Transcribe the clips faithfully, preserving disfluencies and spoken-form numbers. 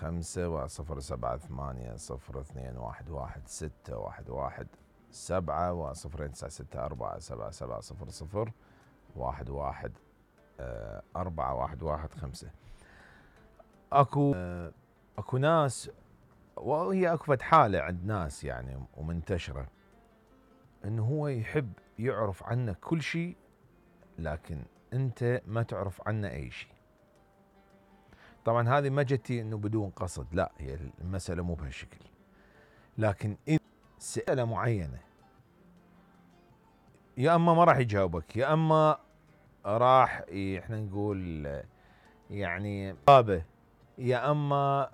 خمسة واحد صفر سبعة ثمانية صفر اثنين واحد واحد ستة واحد واحد سبعة واحد صفرين تسعة ستة أربعة سبعة سبعة صفر صفر واحد واحد أربعة واحد واحد خمسة. اكو اكو ناس، وهي اكو فد حالة عند ناس يعني ومنتشرة، انه هو يحب يعرف عنك كل شيء لكن انت ما تعرف عنه اي شيء. طبعا هذه ما جتي انه بدون قصد، لا، هي المسألة مو بهالشكل، لكن اذا سألة معينة يا اما ما راح يجاوبك، يا اما راح احنا نقول يعني غابة، يا اما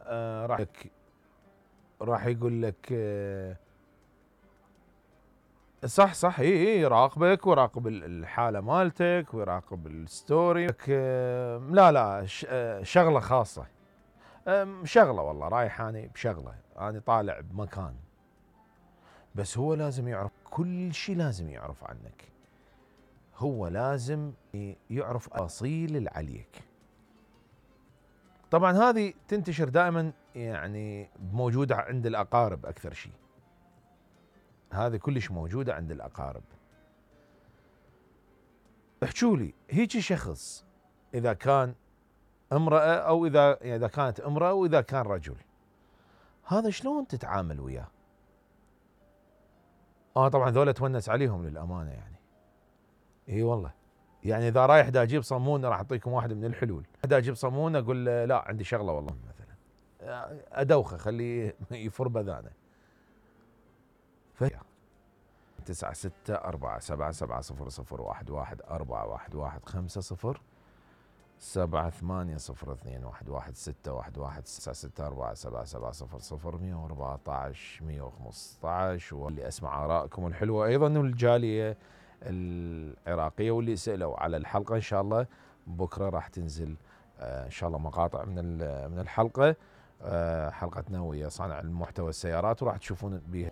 راح راح يقول لك صح صح اي اي يراقبك ويراقب الحالة مالتك ويراقب الستوري، لا لا شغلة خاصة، شغلة والله رايح اني بشغلة، اني طالع بمكان، بس هو لازم يعرف كل شيء، لازم يعرف عنك، هو لازم يعرف تفاصيل اللي عليك. طبعا هذه تنتشر دائما يعني موجودة عند الأقارب أكثر شيء، هذه كلش موجودة عند الأقارب. احجوا لي هيك شخص إذا كان امرأة أو إذا يعني إذا كانت امرأة وإذا كان رجل، هذا شلون تتعامل وياه؟ اه طبعا ذولا تونس عليهم للأمانة يعني، اي والله، يعني إذا رايح دا أجيب صمون راح أعطيكم واحد من الحلول، دا أجيب صمون أقول لا عندي شغلة والله مثلا، أدوخه خليه يفر بذانه. ف تسعة ستة أربعة سبعة سبعة صفر صفر واحد واحد أربعة واحد واحد خمسة صفر سبعة ثمانية صفر اثنين واحد واحد ستة واحد واحد تسعة ستة أربعة سبعة سبعة صفر صفر مية وأربعة عشر مية وخمسة عشر. واللي أسمع آرائكم الحلوة أيضا، والجالية العراقية واللي سألوا على الحلقة، إن شاء الله بكرة راح تنزل إن شاء الله مقاطع من من الحلقة، حلقتنا ويا صانع المحتوى السيارات، وراح تشوفون بها